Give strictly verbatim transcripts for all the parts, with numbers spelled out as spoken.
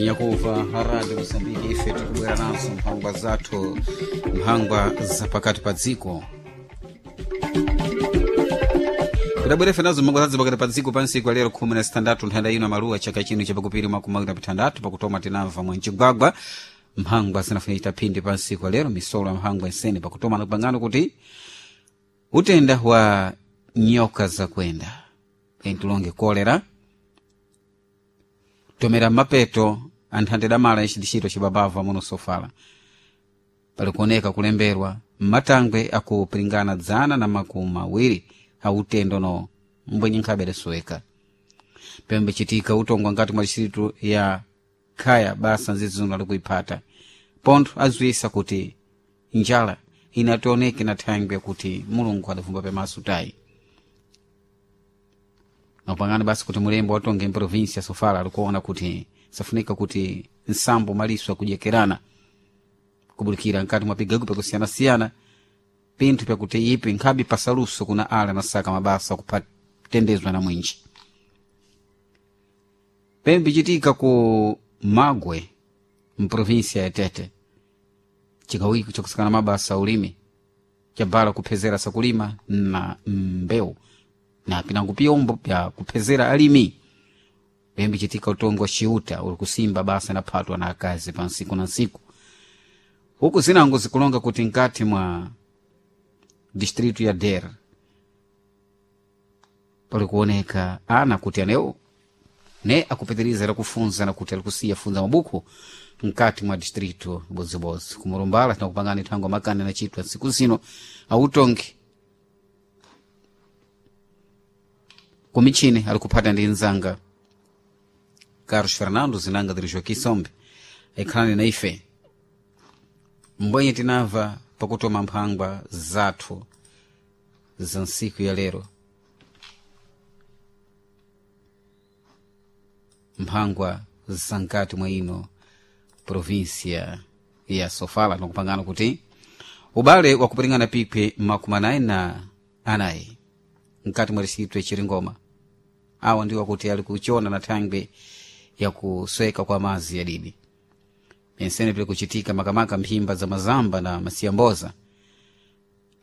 Anyakuva haradi Mosambiki, ife tikubwera nazo mphangwa zathu, mphangwa zapakati pa dziko. Kudabwera ife nazo mphangwa zathu pakati pa dziko pansiku alero khumi na sitandatu nthanda ino maluwa chaka chino chapakupiri makumi awiri na pitandatu. Pakutoma tinamva mwancigwagwa mphangwa zinafuna chitaphindi pansiku alero misolo ya mphangwa nsene. Pakutoma nakupangano kuti utenda wa nyoka zakwenda pentilonge kolera tomera mapeto anthante damala ixidixito cibabava muno sofala palikuoneka kulemberwa matangwe akupiringana dzana na makumi awiri a utendo no mbwenye nkhabe adasoweka. Pembe citika utongwa ngati mwa distritu ya khaya basa nzizuno alikuiphata pontho aziwisa kuti njala inationeke na thangwe kuti Mulungu adavumba pemaso tayi. Napangana basi kuti mulembo watonge mprovinsia Sofala alikuona kuti safunika kuti nsambo maliso akujekerana kubulikira nkati mwa pigago pakusiyanasiyana pinthu pyakuti ipi nkhabe pasaluso kuna ala nasaka mabasa kupatendezwa na mwinji. Pembe citika ku Magwe mprovinsia ya Tete, chikawiki chakusakana mabasa ulimi chabala kuphezera sakulima na mbewu na pinango piyombo pya kuphezera alimi. Pembe citika utongo wa ciuta uli kusimba basa naphatwa na akazi pa nsiku na nsiku, huku zinango zikulonga kuti nkati mwa distritu ya Der pali kuoneka ana kuti anewo ne akupitiriza lakufunza na kuti alikusiya funza mabuku nkati mwa distritu bodzibodzi kumurumbala. Tinakupangani thango makani anachitwa ntsiku zino autongi kumichini alikuphata ndi nzanga Carlos Fernando zinanga diri Joaquim Sombe aikhalani na ife mbwenye tinamva pakutoma mphangwa zathu za ntsiku ya lero, mphangwa za nkati mwa ino provinsia ya Sofala. Tinakupangana kuti ubale wakupiringana pikwi makumi anayi na anayi nkati mwa distritu ya Chiringoma awa ndiwo akuti ali kuchona na thangwe yakusweka kwa mazi ya didi pensene pili kuchitika makamaka mphimba za mazamba na masiyamboza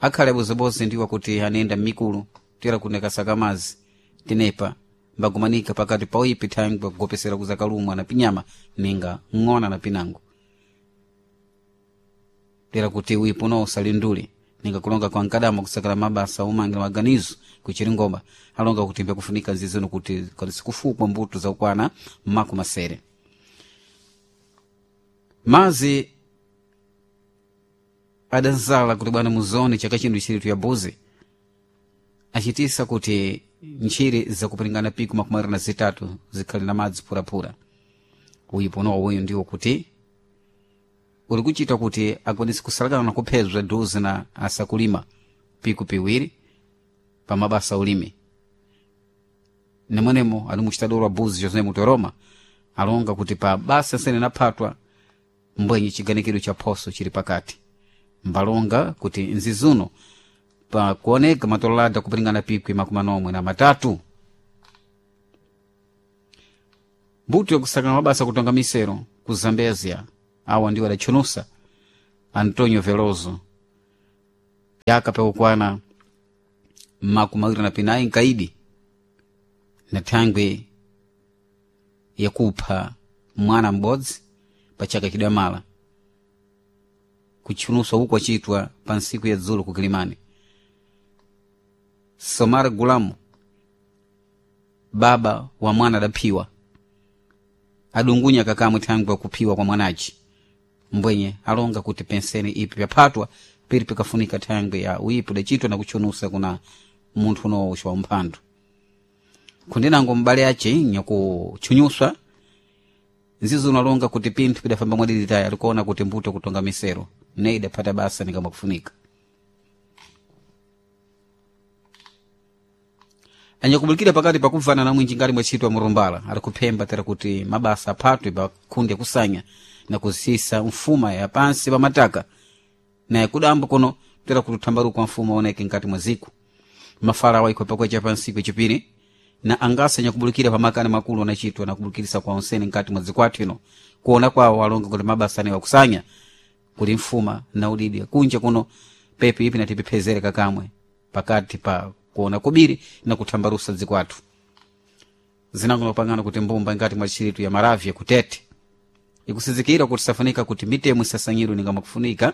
akhale abozeboze ndiwo akuti anenda mmikulu tera kunekasaka mazi tinepa mbagumanika pakati pa uipi thangwe kugopesera kuzakalumwa na pinyama ninga ng'ona na pinango tera kuti uipo no usalindule ninga kulonga kwa nkadama kusakala mabasa umangira maganizo kuchiringoma alonga kuti mbyakufunika nzizino kuti kufukwa mbuto zakukwana mmaku masere mazi adanzala kuti bwana muzone chaka chino chiritu ya buzi achitisa kuti ntchire zakupiringana piku makumi awiri na zitatu zikhale na madzi phuraphura. Uyipo nowo uyu ndiwo kuti uli kuchita kuti akwanise kusalakana na kuphezwa duzi na asakulima piku piwiri pa mabasa ulimi nemwenemo ali muchitadolo wa buzi José Mutoroma alonga kuti pa basa nsene naphatwa mbwenye chiganikiro cha phoso chili pakati mbalonga kuti nzizuno pakuoneka matololada kupiringana pikwi makumi anomwe na matatu. Mbuto yakusakana mabasa kutonga misero ku Zambezia awa ndiwo adatchunusa Antonio Veloso yaka pakukwana makumi awiri na pinayi nkaidi na thangwe yakupha mwana m'bodzi pa chaka chidamala kutchunuswa uku kwachitwa pa ntsiku ya dzulo ku Kilimani. Somar Gulamu baba wa mwana adaphiwa adungunya kakamwe thangwe kuphiwa kwa mwanaci mbwenye alonga kuti penseni ipi pyaphatwa pili pikafunika thangwe ya uipi udacitwa na kutchunusa kuna munthu unowo wa umphandu kundinango m'bale ace nyakutchunyuswa nzizo unalonga kuti pinthu pidafamba mwadiditayi alikuona kuti mbuto kutonga misero ne idaphata basa nikamwa kufunika. Anyakubulikira pakati pakubvana na mwinji ngati mwachitwa murumbala ali kuphemba tera kuti mabasa aphatwe pa khundi yakusanya na kusisa mfuma ya pansi pa mataka naye kudambo kuno tera kuti uthambaruko wa mfuma aoneke nkati mwa ziku mafala awa ikhwepa kwecha pa nsiku yachipiri. Na angasa nyakubulikira pamakani makulu anachitwa na kubulikirisa kwa onsene nkati mwa dzikwathu ino kuona kwawo alonga kuti mabasa anewa kusanya kuli mfuma na udidi kunja kuno pepi ipi natipepezere kakamwe pakati pa kuona kubiri na kuthambarusa dzikwathu. Zinango pangano kuti mbumba ngati mwa tchiritu ya Maravya kutete ikusizikira kuti safunika kuti mitemo isasanyirwe ninga mwakufunika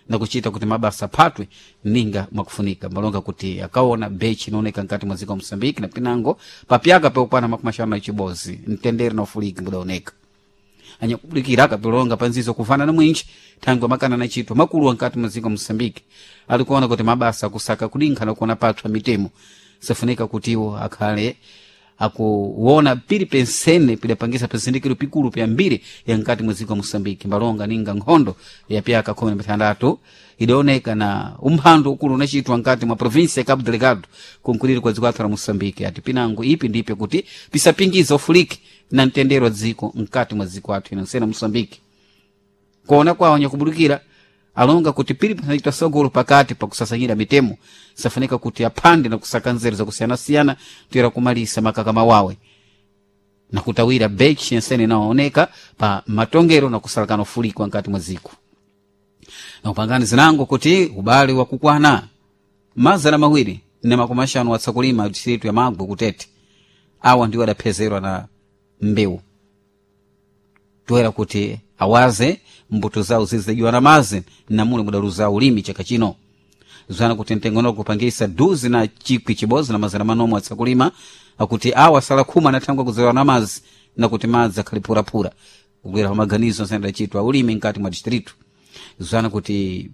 na kuchita kuti mabasa aphatwe ninga mwakufunika. Malonga kuti akaona bechi inaoneka nkati mwa dziko Mosambiki na pinango papyaka peukwana makumi axanu na chibozi mtendere na ufuliki mudaoneka anyakubulikira akapilonga panzizo kuvana na mwinji thangwe makana na chitwa makulu ankati mwa dziko Mosambiki alikuona kuti mabasa akusaka kudinkha na kuona patswa mitemo safunika kuti iwo akhale akuwona pili pensene pidapangisa pizindikiro pikulu pyambiri ya nkati mwa dziko Mosambiki mbalonga ninga nkhondo ya pyaka khumi na mitandatu idaoneka na umphando ukulu unachitwa nkati mwa provinsia ya Cabo Delgado kunkuliri kwa dziko lathu la Mosambiki. Ati pinango ipi ndipe kuti pisapingiza ufuliki na mtendere wa dziko nkati mwa dziko athu ino nsena Mosambiki. Kuona kwawo nyakubulikira alonga kuti pili panachitwa sogolo pakati pakusasanyira mitemo safunika kuti aphande na kusaka nzeru zakusiyanasiyana toyera kumalisa makakama wawe na kutawira bechi yensene inaoneka pa matongero na kusalakana ufulikwa nkati mwa dziko. Na upangani zinango kuti ubale wakukwana mazana mawiri na makumi axanu atsakulima distritu ya Magwe kutete awa ndiwo adaphezerwa na mbewu toyera kuti awaze mbuto zawo zizidajiwa na mazi namule mudaluza ulimi chaka chino. Zwana kuti mtengo kupangisa duzi na chikwi chibozi na mazana manomwe atsakulima akuti awa sala khumi anathangwa kuzewa na mazi na kuti madzi akhaliphuraphura kukwera pa maganizo nsene ulimi nkati mwa distritu. Zwana kuti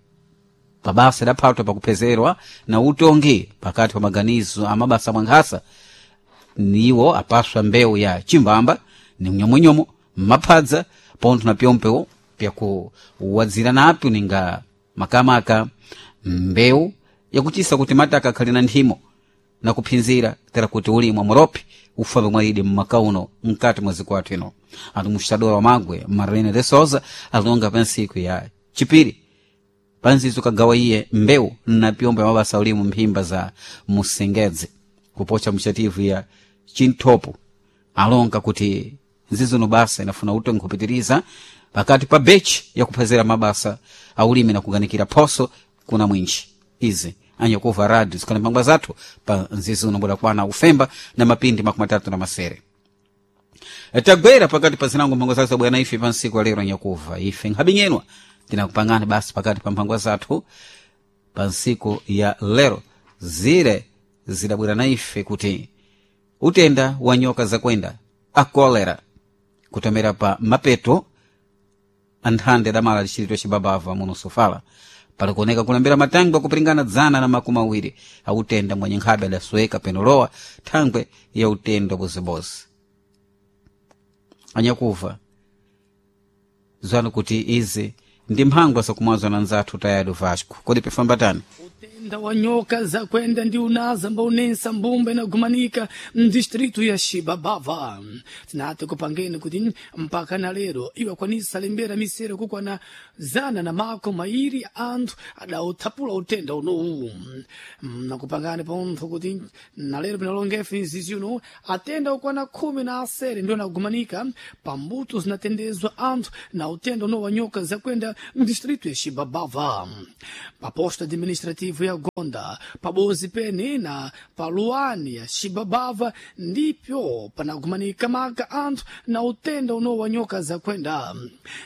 pabasa idaphatwa pakuphezerwa na utongi pakati pa maganizo amabasa mwankhasa niwo apaswa mbewu ya chimbamba ni mnyomwenyomo maphadza pontho na pyompewo pyakuwadzira napyo ninga makamaka mbewu yakuchisa kuti mataka akhali na nthimo na kuphinzira tera kuti ulimi wa muropi ufambe mwaidi mmakauno mkati mwa zikwathu ino. Anthu muxitadora wa Magwe Marlene de Souza alonga pa ntsiku ya chipiri panzizo kagawa iye mbewu na pyombo ya mabasa ulimu mphimba za musengedze kupocha mchativu ya chinthopo alonga kuti nzizono basa inafuna utongi kupitiriza pakati pa bechi yakuphezera mabasa aulimi na kuganikira phoso kuna mwinji. Izi anyakuva radio zikhala mphangwa zathu pa nzizono budakwana ufemba na mapindi makumi atatu na masere. Tagwera pakati pa zinango mphangwa zathu zabwera ife pa nsiku alero nyakuva ife nkhabinyenwa tinakupangani basi pakati pa mphangwa zathu pa nsiku ya lero zire zidabwera na ife kuti utenda wa nyoka zakwenda a kolera kutomera pa mapeto anthande adamala lichilitwa cibabava muno sofala palikuoneka kulembera matangwe akupiringana dzana na makumi awiri autenda mwenye nkhabe adasweka penolowa thangwe ya utenda bozibozi. Anyakuva zwanu kuti izi ndi mphangwa zakumwazwa na nzathu tayado Vasco kodi pifambatani Utenda wa nyoka zakwenda ndi unaza mbaunensa mbumba inagumanika mdistritu ya Xibabava. Tinati kupangeni kuti mpaka na lero iwakwanisa lembera misero kukwana zana na mako mairi anthu adauthapula utenda unowu. Nakupangani pontho kuti na lero pinalongefe mzizi uno atenda okwana khumi na asere ndio anagumanika pambuto zinatendezwa anthu na utenda uno wa nyoka zakwenda mdistritu ya Xibabava. Paposto administrativo ya Gonda, pabozi pene na paluani ya Xibabava ndipyo panagumanika maka anthu na utenda uno wa nyoka zakwenda.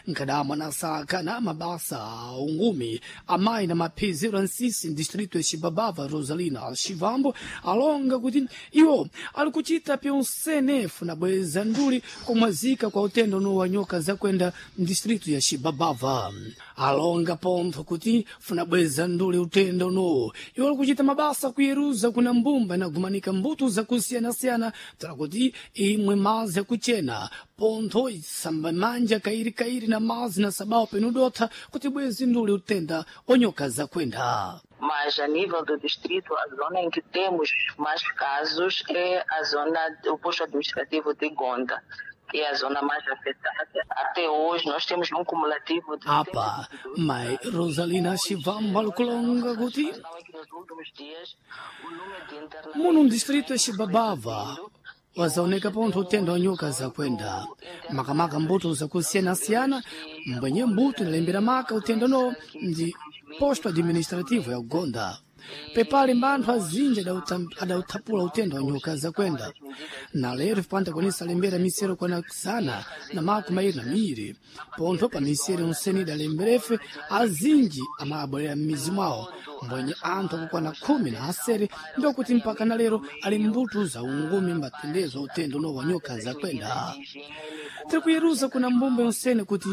Nkadamwa na saka na mabasa ungumi amayi na maphiziro ansisi distrito ya Xibabava Rosalina Xivambo alonga kuti iwo ali kuchita pyonsenefu na bweza nduli kumwazika kwa utenda uno wa nyoka zakwenda mdistrito ya Xibabava. Alonga pontho kuti funa bweza nduli utenda uno iwo ali kuchita mabasa kuyeruza kuna mbumba inagumanika mbuto zakusiyanasiyana tala kuti imwe mazi akuchena pontho isamba manja kairi kairi na mazi na sabao penudotha kuti bwezi nduli utenda onyoka zakwenda. Mas a nível do distrito, a zona em que temos mais casos é a zona, o posto administrativo de Gonda, que é a zona mais afetada. Até hoje nós temos um cumulativo de Apa, mai Rosalina Xivambo alikulonga kuti Nos últimos dias, o número de internamentos muno mdistrito ya Xibabava Wazaoneka pontho utenda wa nyoka zakwenda makamaka mbuto zakusiyanasiyana mbwenye mbuto inalembera maka utenda uno ndi posto administrativo ya Gonda. Pepale mbanthu azinji adauthapula utenda wa nyoka zakwenda na lero vipanda kwanisa lembera misero kwana zana na makumi ayiri na miiri pontho pa misero onsene idalemberefe azinji amabwerera m'mizi mwawo mbwenye anthu akukwana khumi na asere ndiokuti mpaka na lero ali mbuto za ungumi mbatendezwa utenda uno wa nyoka zakwenda. Tiri kuyeruza kuna mbumba yonsene kuti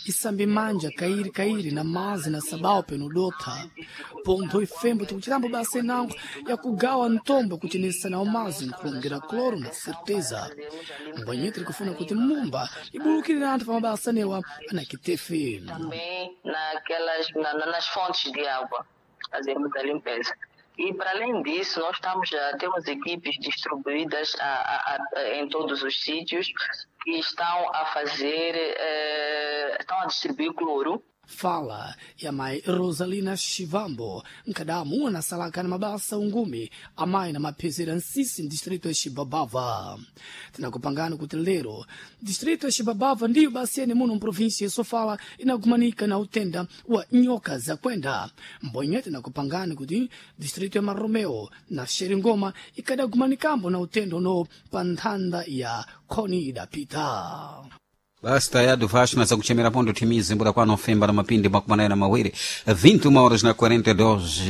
isambe manja kairi kairi na mazi na sabao peno dotha pontho ifembo tikuchitambo basa inango yakugawa ntombo kuchenesa nawo mazi nkulongera cloro na certeza mbwenye tiri kufuna kuti mumba ibulukirire anthu pa mabasa anewa anakitefe. Também naquelas, na, na- nas fontes de água, fazemos a limpeza. E, para além disso, nós estamos, já temos equipes distribuídas a, a, a, em todos os sítios que estão a fazer, eh, estão a distribuir cloro. Fala ya mayi Rosalina Shivambo nkadamu anasalaka na mabasa ungumi amayi na maphezera nsisi mdistrito ya Xibabava. Tinakupangani kuti lero distrito ya Xibabava ndiyo basi yene muno mprovinsia ya Sofala inagumanika na utenda wa nyoka zakwenda mbonye. Tinakupangani kuti distrito ya Maromeo na Xeringoma ikadagumanikambo na utenda uno pa nthanda ya khoni idapita. Basi tayado Vasco na zakuchemera pondo timizi mbura kwano femba na mapindi makumi na mawiri vinte e uma horas na quarenta e dois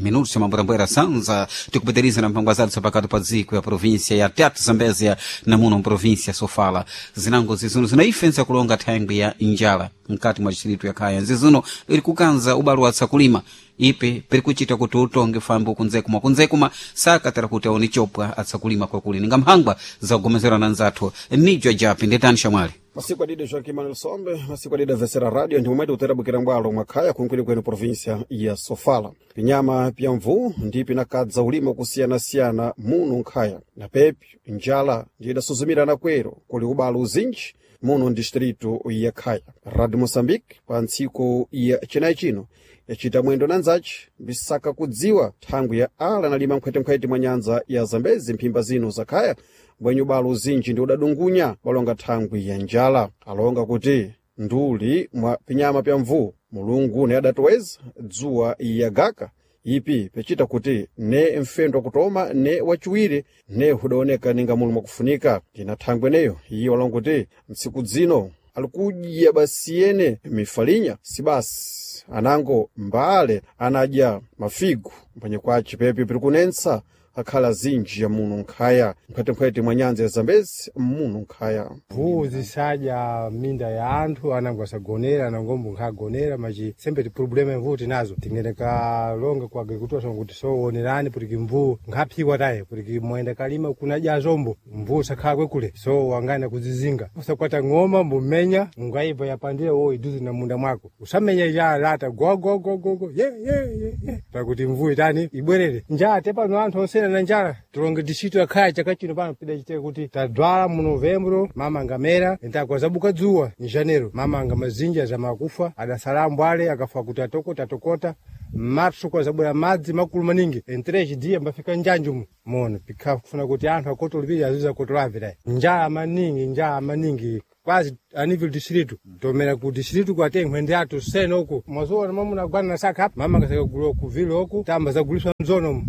minutos mamburambwera sanza tikupitiriza na mpango azali pakati pa dziko ya província ya Tete Zambezia na muno província Sofala zinango zizuno zinaifensa kulonga thangwi ya njala mkati mwa distrito ya Khaya zizuno iri kukanza ubalo wa tsakulima ipe piri kuchita kuti utonge fambo kunzekuma kunzekuma saka tera kuti aone chopwa atsakulima kwakuli ninga mphangwa zakugomezera na nzathu nijo japi ndetani shamwali. Masiku adide Joaquim Manuel Sombe, masiku adide Vesera Radio ndi momwe utera bukira mbwalo mwakhaya kunkwili kwenu província ya Sofala. Pinyama pya mvu ndi pinakadza ulimo kusiyanasiyana muno nkhaya na pepi njala ndi idasuzumirana kwero kuli ubalo uzinji muno distrito ya Khaya. Radio Moçambique pa ntsiku ya chinayi chino yacita mwendo na nzaci mbisaka kudziwa thangwi ya ala nalima nkhwetenkhwete mwa nyanza ya Zambezi mphimba zino za Khaya mbwenye ubalo uzinji ndi udadungunya walonga thangwi ya njala. Alonga kuti nduli mwa pinyama pya mvu Mulungu ne adatoweza dzuwa yagaka ipi pecita kuti ne mfendo wakutoma ne wachiwiri ne hudaoneka ninga mulu mwakufunika. Ndina thangwi eneyo iye walonga kuti ntsiku dzino alikudya basi yene mifalinya si basi anango mbale anadya mafigu mphwenye kwace pepi piri kunensa akhala zinji ya muno nkhaya mphwetemphwete mwa nyanza ya Zambezi muno nkhaya. Mvuu zisadya minda ya anthu anango asagonera anangombo nkhagonera machi sembe ti problema ya mvuu tinazo tingene kalonga kwa agricultura kuti so onerani kuti mvuu nkhaphiwa taye kuti mwenda kalima kunadya zombo mvuu sakhala kwekule so wangana kuzizinga usakwata ng'oma mbumenya ungaibva yapandire wo iduze na munda mwako usamenya ya lata gogogogogo ye ye ye ye pakuti mvuu itani ibwerere njala te pano anthu onsena na njala tilonge distrito yakhaya chaka chino pano pidachiteka kuti tadwala mu novembro mama ngamera entakwazabuka dzuwa em janeiro mama anga mazinja zamakufa adasala ambwale akafa kuti atokota atokota marso kwazabwera madzi makulu maningi em três dias mbafika njanji mono pikha kufuna kuti anthu akotolipira azuza kotolave njala maningi njala maningi quase a nível distrito tomera ku distrito kwate nkhwende athu sena uku mwazoona mamunagwana na saka apa mama ngasakagulwa ku vile uku tamba zaguliswa mzono umu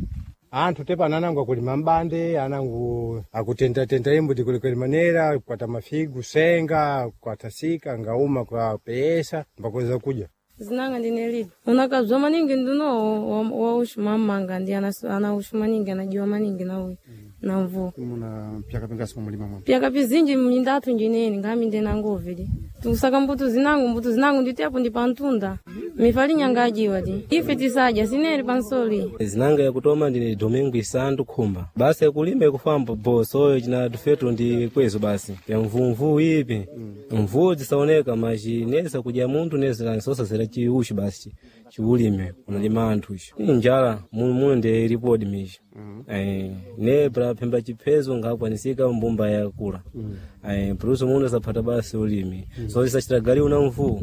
anthu tepa ananangu akulima mbande anangu akutentatenta imbuti kulikweli manera kukwata mafigu senga kukwata sika ngauma kwa peesa mbakweza kudya. Zinanga ndine lidi unakazwa maningi nduno waushu mamanga ndi anaushu maningi anajiwa maningi na uyu na mvua. Muna pyaka pingasi mumulima mwa pyaka pizinji mindatu njineni ngaminde nangovili tusaka mbuto zinangu mbuto zinangu nditepo ndi pantunda mifalinya ajiwa ti ife tisadya sineri pansoli. Zinanga yakutoma ndine Domingo Isandu Khumba basi yakulima ikufamba bosoyo china tufetu ndi kwezo basi ya mvumvu ipi mvuu zisaoneka machi nesa kudya munthu nesa sosazera chiushi basi chiulime unalima anthu icho njala muno muno ndi ripodi michi eh ne pra phemba chiphezo ngakwanisika mbumba yakula eh pruso muno saphata basi ulimi so isachita gali una mvuu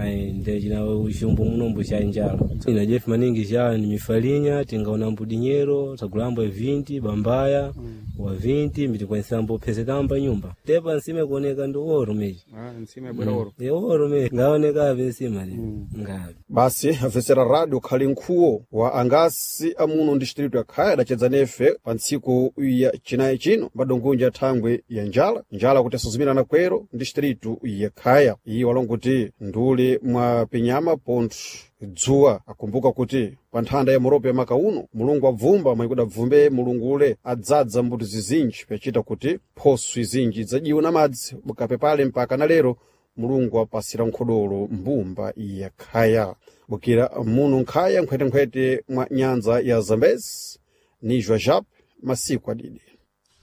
eh nde china uchumbu munombo cha njala ina jefu maningi cha ni mifalinya tingaona mbudinyero tagulambo vinti bambaya. Wa vinti mbitikwanisa phezekamba nyumba. Tepa nsima kuoneka ndi oro meji. Ah, nsima yabwera oro. E oro meji ngaoneka nsima le. Ngabe. Basi afesera radio khali nkhuwo wa angasi amuno distritu ya Khaya adacedza nefe pa ntsiku ya chinayi chino mbadongonja thangwe ya njala njala kuti asuzumirana kwero distritu ya Khaya. Iyi walongo kuti nduli mwa pinyama pontho dzuwa akumbuka kuti pa nthanda ya muropo ya maka uno Mulungu abvumba mwayikuda bvumbe Mulungu ule adzadza mbuto zizinji pyachita kuti phoso izinji idzajiwa na madzi bukapepale mpaka na lero Mulungu apasira nkhodolo mbumba ya Khaya. Bukira muno nkhaya nkhwetenkhwete mwa nyanza ya Zambezi ni Jwajap masiku adidi.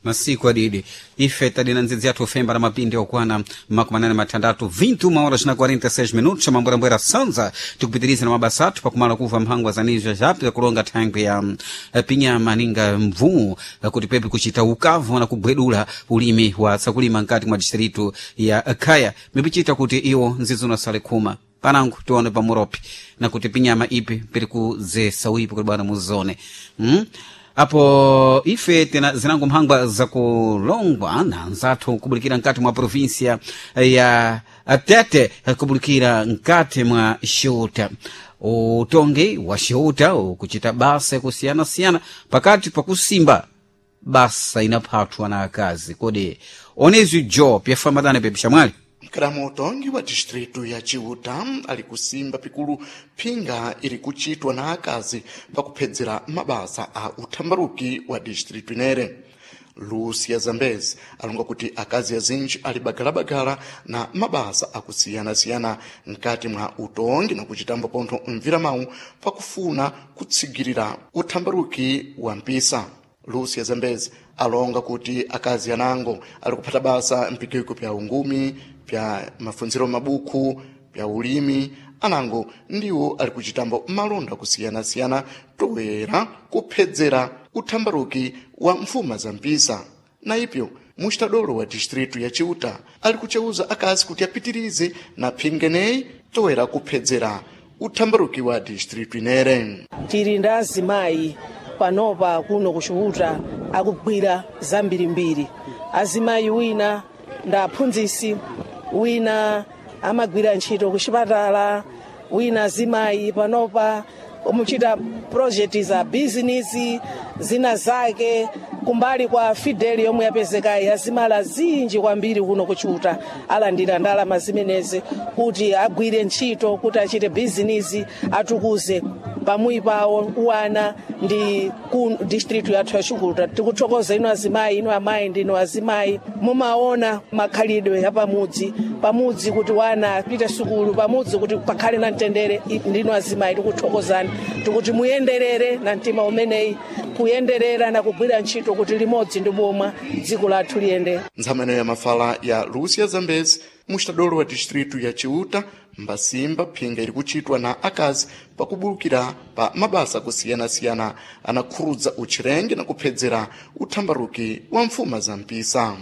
Masiku adidi ife tadina ndzidzi yathu femba na mapindi okwana makumi anane mathandatu vinte e uma horas na quarenta e seis minutos mambwerambwera sanza tikupitiriza na mabasa athu pakumala kuva mphangwa za nizwa japi zakulonga thangwi ya mm, pinyama ninga mvuu kuti pepe kuchita ukavu na kubwedula ulimi wa sakulima nkati mwa distritu ya Khaya mipichita kuti iwo ndzidzi unasale khuma panangu tione pamuropi na kuti pinyama ipi piri kuzesa uipi kuti bwana muzone mm? Apo ife tena zinango mphangwa zakulongwa na nzathu kubulikira nkati mwa provinsia ya Tete, kubulikira nkati mwa Xiuta. Utongi wa Xiuta ukuchita basa kusiyana-siyana pakati pakusimba basa inaphathwa na akazi kodi onezi jo pyafambatana pepixamwali. Mkalamu utongi wa distritu ya Chiuta ali kusimba pikulu phinga iri kuchitwa na akazi pakuphedzera mabasa a uthambaruki wa distritu inere. Lucia Zambezi alonga kuti akazi azinji ali bagalabagala na mabasa akusiyana-siyana mkati mwa utongi na kuchitambo pontho mviramawu pakufuna kutsigirira uthambaruki wa mpisa. Lucia Zambezi alonga kuti akazi anango ali kuphata basa mpigwiko pya ungumi, pya mafunziro mabuku, pya ulimi anango ndiwo ali kuchitambo malonda kusiyana-siyana toera kuphedzera uthambaruki wa mfuma za mpisa. Na ipyo muxitadolo wa distritu ya Chiuta ali kuceuza akazi kuti apitirize na phingeneyi toera kuphedzera uthambaruki wa distritu inere. Tili ndi azimayi panopa kuno kuChiuta akugwira zambirimbiri. Azimayi wina ndi aphunzisi, wina amagwira ntchito kuchipatala, wina azimayi panopa muchita project za bizinesi zina zake kumbali kwa Fidel yomwe yapezekayi. Azimala zinji kwambiri kuno kuChiuta alandira ndalama zimenezi kuti agwire ntchito, kuti achite bizinesi, atukuze pamwi pawo uwana ndi ku district yathu ya Chiuta. Tikuthokoza inu azimayi, inu amayi ndinu azimayi mumaona makhalidwe ya pamudzi pamudzi kuti wana apite sukulu pamudzi kuti pakhale na mtendere. Ndinu azimayi tikuthokozani, tikuti muyenderere na mtima umeneyi, kuyenderera na kugwira ntchito kuti limodzi ndi boma dziko lathu liyende. Ntshameno ya mafala ya Lucia Zambezi muxitadolo wa distritu ya Chiuta mbasimba phinga iri kuchitwa na akazi pakubulukira pa mabasa kusiyana-siyana anakhurudza uchirenge na kuphedzera uthambaruki wa mfuma za mpisa.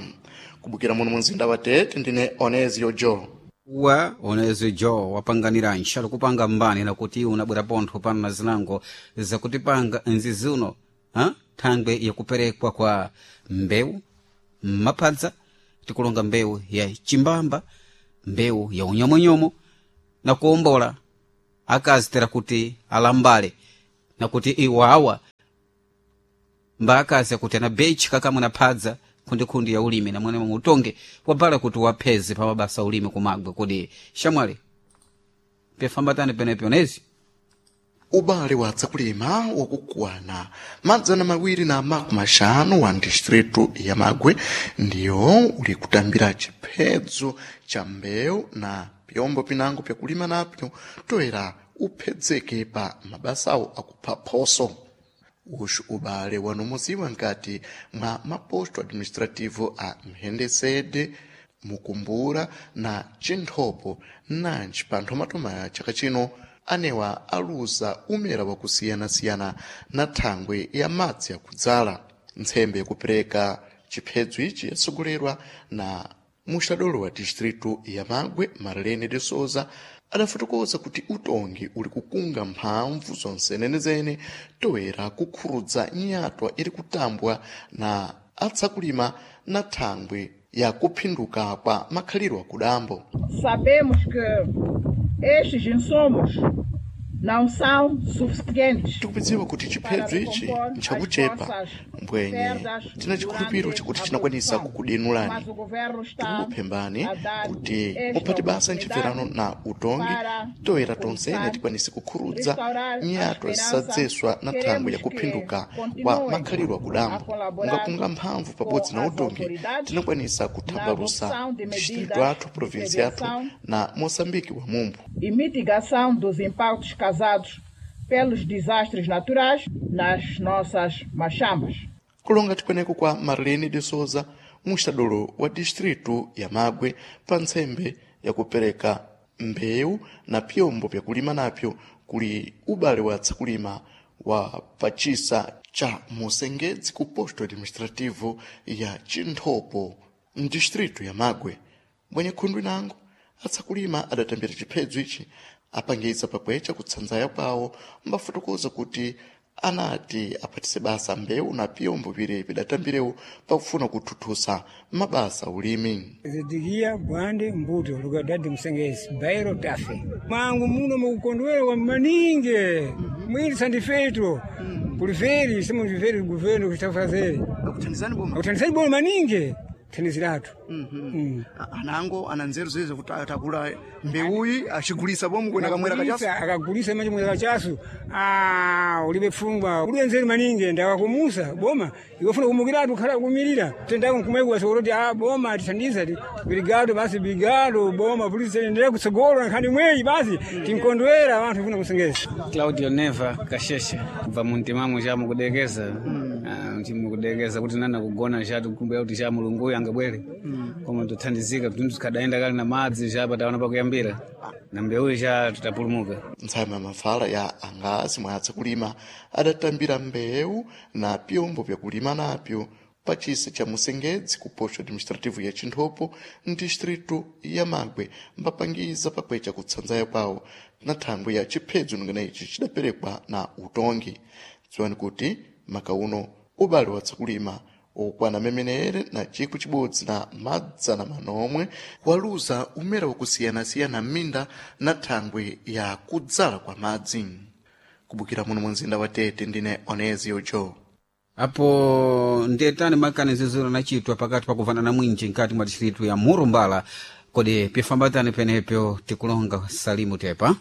Kubukira muno munzinda wa Tete ndine Onezio Jo. Wa onezi jo wapanganira nxalo kupanga mbani nakuti unabwera pontho pano na zinango zakutipanga nzizuno ha? Thangwe yakuperekwa kwa mbewu maphadza tikulonga mbewu ya chimbamba, mbewu ya unyomonyomo na kuombola akazi tera kuti alambale nakuti iwawa mba akazi akuti ana bechi kakamwe na phadza khundikhundi ya ulimi na mwene utonge wabala kuti wapheze pa mabasa ulimi kumagwe kodi shamwali pyafambatani penepo onezi. Ubale wa tsakulima wakukwana madzana mawiri na makumi axanu wa distritu ya Magwe ndiyo uli kutambira chiphedzo cha mbewu na pyombo pinango pyakulima napyo toera uphedzeke pa mabasawo akupha phoso. Uxu ubale wanumuziwa nkati mwa maposto administrativo a Mhendesede, Mukumbura na Chinthopo nanji pa nthomatoma ya chaka chino anewa aluza umera wakusiyana-siyana na thangwe ya madzi akudzala. Ntsembe yakupereka chiphedzo ichi yatsogolerwa na muxitadolo wa distritu ya Magwe Marlene de Souza adafotokoza kuti utongi uli kukunga mphamvu zonsenenezene toera kukhurudza nyatwa iri kutambwa na atsakulima na thangwi ya kuphinduka kwa makhaliro akudambo. Sabemos que estes insumos não são suficientes Tikupidziwa kuti chiphedzo ichi nchakuchepa mbwenye tina chikhulupiro chakuti chinakwanisa kukudenulani. Mas o governo está Tikukuphembani a dar kuti esta muphate basa ntchibverano na utongi para toera tonsene começar, tikwanise kukhurudza restaurar a nyato esperança. zisadzeswa na thangwi ya Queremos que kuphinduka kwa continuem makhaliro a akudambo. colaborar Mungapunga mphamvu pabodzi com na as utongi autoridades tinakwanisa na kuthambalusa adoção de distrito medidas athu de província athu prevenção na Moçambique wa mumbu. e mitigação dos impactos causados pelos desastres naturais nas nossas machambas. Kulonga tikweneko kwa Marlene de Souza, mustadolo wa distritu ya Magwe pa ntsembe yakupereka mbewu na pyombo vyakulima napyo kuli ubale wa tsakulima wa pachisa cha Musengedzi ku posto administrativo ya Chinthopo mdistritu ya Magwe. Mwenye khundu inango atsakulima adatambira chiphedzo ichi apangiza pakwecha kutsanzaya kwawo mbafotokoza kuti anati aphatise basa mbewu na pyombo pire pidatambirewo pakufuna kuthuthusa mabasa ulimi. Zidikia bwande mbuto lukadadi msengezi bairo tafe mangu muno mukukondwera kwa maninge mwili sandifeto kuliferi sema mviferi governo kutafazeri akuthandizani boma akuthandizani boma maninge thandiziratu mm. Anango ana nzeru zizo kuti atakula mbewuyi achigulisa bomu kwena kamwera kachasu. Akagulisa- akagulisa manje mwera kachasu ah ulibe pfungwa ulibe nzeru maninge ndakakumusa boma ikofuna kumukiratu khala kumirira tendako nkumaikuwa sokoloti ah boma tithandiza ti biligado basi biligado boma polisi endelea kutsogolo nkhani mweyi basi tinkondwera vanthu kufuna kusengeza. Claudio Neva Kasheshe kubva muntimamo cha mukudekeza mm. Chimukudekeza kuti nana kugona chatu kumbira kuti cha mulungu uyu angabwere mm. Koma tothandizika kuti tikhadaenda kali na madzi chapa taona pakuyambira na mbewu cha tutapulumuka. Ntsama ya mafala ya angazi mwa atsakulima adatambira mbewu na pyombo vyakulima napyo pa chisa cha Musengedzi ku posto administrativo ya Chinthopo mdistritu ya Magwe mbapangiza pakwecha kutsanzaya kwawo na thangwi ya chiphedzo ningana ichi chidaperekwa na utongi. Dziwani kuti maka uno ubale wa tsakulima okwana memenere na chikwi chibodzi na madzana manomwe waluza umera wakusiyanasiyana m'minda na thangwi ya kudzala kwa madzi. Kubukira muno mu mzinda wa Tete ndine Onezio Joe. Apo ndetani makaniziziro anachitwa pakati pakuvana na mwinji nkati mwa distritu ya Murumbala kodi pifambatani penepyo tikulonga Salimu Tepa.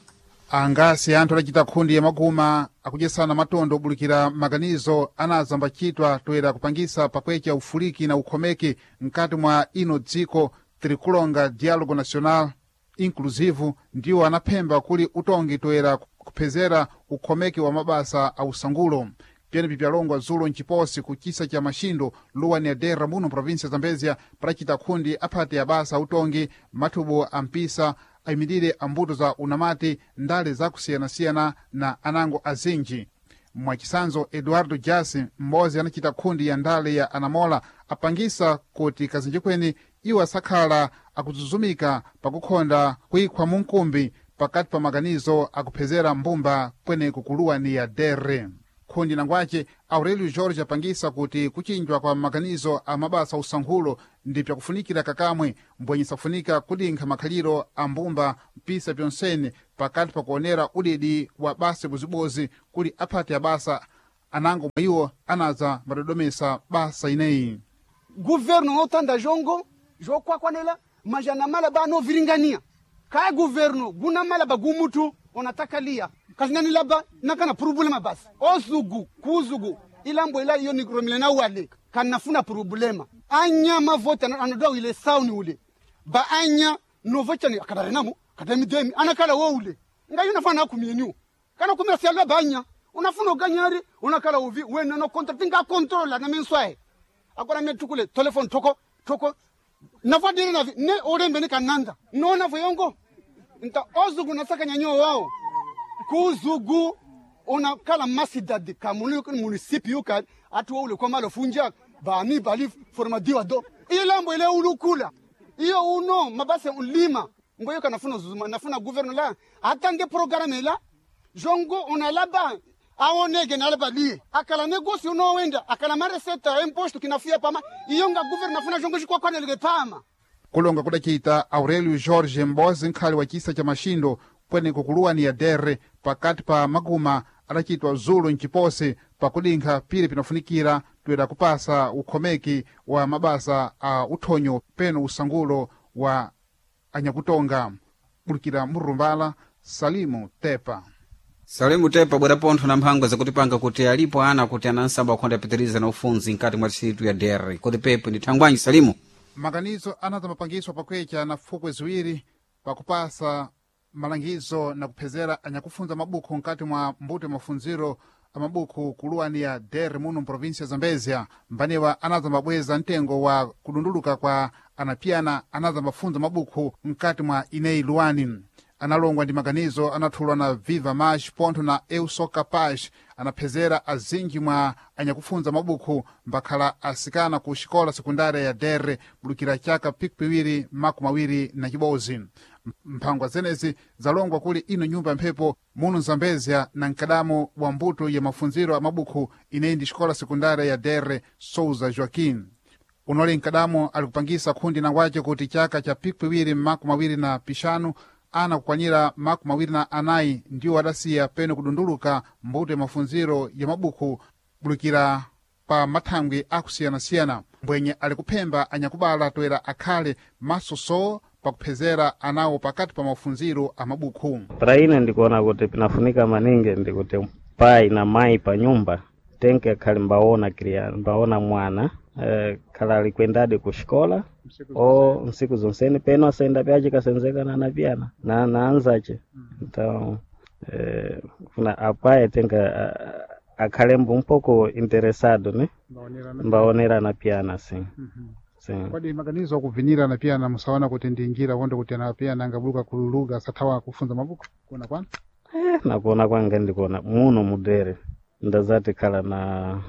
Angasi anthu adacita khundi ya maguma akudyesana matondo obulikira maganizo anazambacitwa toera kupangisa pakwecha ufuliki na ukhomeki mkati mwa ino dziko tirikulonga Dialogo Nacional Inclusivo ndiwo anaphemba kuli utongi toera kuphezera ukhomeki wa mabasa a usangulo. Pyenepi pyalongwa dzulo mciposi ku chisa cha Maxindo luwa ni Adera muno província Zambezia padacita khundi aphati abasa autongi mathubo a mpisa ayimirire ambuto za unamati ndale zakusiyanasiyana na anango azinji. Mwachisanzo Eduardo Jasi m'bodzi anacita khundi ya ndale ya anamola apangisa kuti kazinji kweni iwo asakhala akuzuzumika pakukhonda kuikhwa munkumbi pakati pa maganizo akuphezera mbumba kweneku kuluwa ni ya dere. Khundi nangwace Aurelio Jorge apangisa kuti kuchinjwa kwa maganizo a mabasa usankhulo ndi pyakufunikira kakamwe mbwenye sakufunika kudinkha makhaliro a mbumba mpisa pyonsene pakati pakuonera udidi wa basa buzibozi kuli aphati abasa anango mwa iwo anaza madodomesa basa ineyi. Governo otanda jongo jokwakwanela majana mala ba no viringania kaya governo guna mala ba gumutu onataka lia kazinani laba nakana problema basi ozugu kuzugu ilambo ila iyo nikromile na wale kanafuna problema anya mavota anodoa ile sauni ule ba anya novochani akadarenamo kadamidemi anakala wo ule ngayo nafana akumieniu kana kumira sialwa banya unafuna uganyari unakala uvi wena no contract nga controla na menswae akora metukule telephone toko toko nafa diri navi ne orembe ne kananda no navo yongo nta ozugu nasaka nyanyo wao kuzugu unakala masidadi kamunu municipio ka atu ule kwa malo funja ba mi bali formadiwa do ilambo ile ulukula iyo uno mabase ulima ngoyo kana funa zuzuma nafuna gouverneur la atande programme la jongo on a là-bas Aonege nale balie. Akala negócio nowenda, akala mareceta imposto kinafia pama, iyo nga governo afuna jongo chikwakwaneleke pama. Kulonga kudacita Aurélio Jorge Mbozi nkhali wa chisa cha Maxindo kweneko kuluwani ya Dere pakati pa maguma adacitwa zulu mciposi pakudinkha pili pinafunikira toera kupasa ukhomeki wa mabasa a uthonyo peno usangulo wa anyakutonga. Bulukira Murumbala, Salimu Tepa. Salimu Tepa bwera pontho na mphangwa zakutipanga kuti alipo ana kuti anansamba akhonda apitiriza na ufunzi mkati mwa distritu ya Dere. Kodi pepo ndi thangwanyi Salimu? Maganizo anaza mapangiswa pakwecha na fukwe ziwiri pakupasa malangizo na kuphezera anyakufunza mabukhu mkati mwa mbuto ya mafunziro a mabukhu kuluwani ya Dere muno mprovinsia ya Zambezia. Mbanewa anaza mabweza mtengo wa kudunduluka kwa anapiyana anaza mafunza mabukhu mkati mwa ineyi luwani. Analongwa ndi maganizo anathulwa na Viva Mais pontho na Eu Sou Capaz anaphezera azinji mwa anyakufunza mabukhu mbakhala asikana ku xikola sekundária ya Dere bulukira chaka pikipiwiri makumi awiri na chibodzi. Mphangwa zenezi zalongwa kuli ino nyumba ya mphepo muno Zambezia na mkadamo wa mbuto ya mafunziro a mabukhu ineyi ndi xikola sekundária ya Dere Souza Joaquim. Unoli mkadamo alikupangisa khundi nangwace kuti chaka cha pikipiwiri makumi awiri na pixanu ana kukwanira makumi awiri na anayi ndiwo adasiya peno kudunduluka mbuto ya mafunziro ya mabukhu bulukira pa mathangwi akusiyana-siyana. Mbwenye ali kuphemba anyakubala toera akhale masosowo pakuphezera anawo pakati pa mafunziro a mabukhu. Pra ine ndikuona kuti pinafunika maningi ndikuti pai na mai pa nyumba tenke akhali mbaona kriya mbaona mwana eh, khala alikwendadi ku xikola o nsiku zonsene peno asenda pyace kasenzeka na anapiyana na na anzace então eh, kuna apaye tenka akhalembo um pouco interessado né mbaonera anapiyana sim sim Kodi maganizo akuvinira anapiyana musaona kuti ndi njira konde kuti anapiyana angabuluka kululuka asathawa kufunza mabukhu kuona kwanu? Eh, nakuona kwanga ndikuona muno mudere ndazati khala na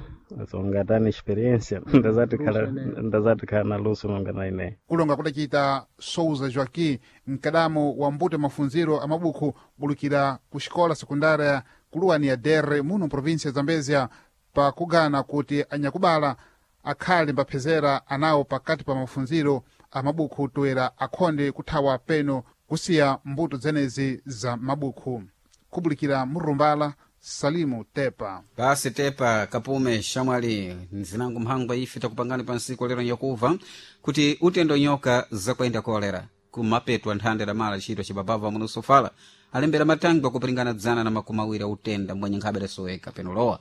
songatani experiência ndazati khala ndazati khala na luso nonga na ineyi. Kulonga kudacita Souza Joaquim mkadamo wa mbuto ya mafunziro a mabukhu bulukira ku xikola sekundária kuluwani ya Dere muno mprovinsia ya Zambezia pakugana kuti anyakubala akhale mbaphezera anawo pakati pa mafunziro a mabukhu toera akhonde kuthawa peno kusiya mbuto zenezi za mabukhu. Kubulikira Murumbala, Salimu Tepa. Basi Tepa kapume shamwali nzinango mphangwa ife takupangani pa nsiku lero nyakuva kuti utendo nyoka zakwenda kolera kumapetwa nthanda damala chitwa cibabava muno sofala alembera matangwa kupiringana dzana na makumi awiri autenda mbwenye nkhabe lasoweka peno lowa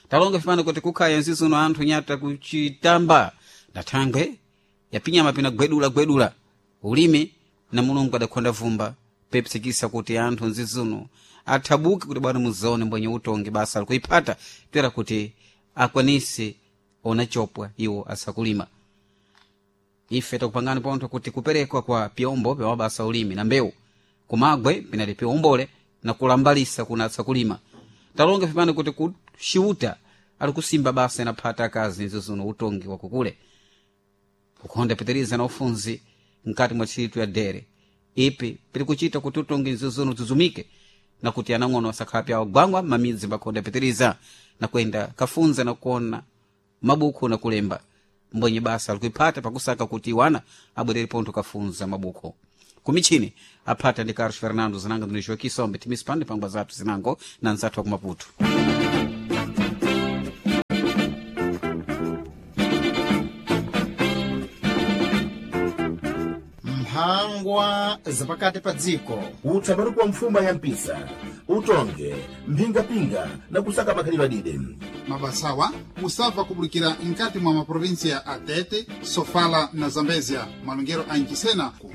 talonga fipano kuti kukhaya nzizuno anthu nyata kuchitamba na thangwe yapinyama pina gwedula gwedula ulimi na mulungu adakhonda vumba pepsikisa kuti anthu nzizuno athabuke kuti bwana muzaone mbwenye utongi basa alikuiphata toera kuti akwanise ona chopwa iwo asakulima. Ife takupangani pontho kuti kuperekwa kwa pyombo pya mabasa ulimi na mbewu kumagwe pinali pyombole na kulambalisa kuna asakulima. Talonga fipano kuti kuxiuta ali kusimba basa inaphata akazi nzizuno utongi wakukule kukhonda pitiriza na ufunzi mkati mwa ntchito ya Dere ipi pili kuchita kuti utongi nzizuno zuzumike na kuti anang'ono asakhala pyawo gwangwa mamidzi mbakhonda pitiriza na kwenda kafunza na kuona mabukhu na kulemba mbwenye basa alikuiphata pakusaka kuti iwana abwerere pontho kafunza mabukhu kumichini aphata ndi Carlos Fernando zinango ndino Joaquim Sombe timisipande pangwa zathu zinango na nzathu wa ku Maputo. Mphangwa zapakati pa dziko. Utsamari kwa mfuma ya mpisa utonge mphingapinga na kusaka makhalidwe adide. Mabasawa musabva kubulikira mkati mwa maprovinsia a Tete, Sofala na Zambezia malongero a Nchisena ku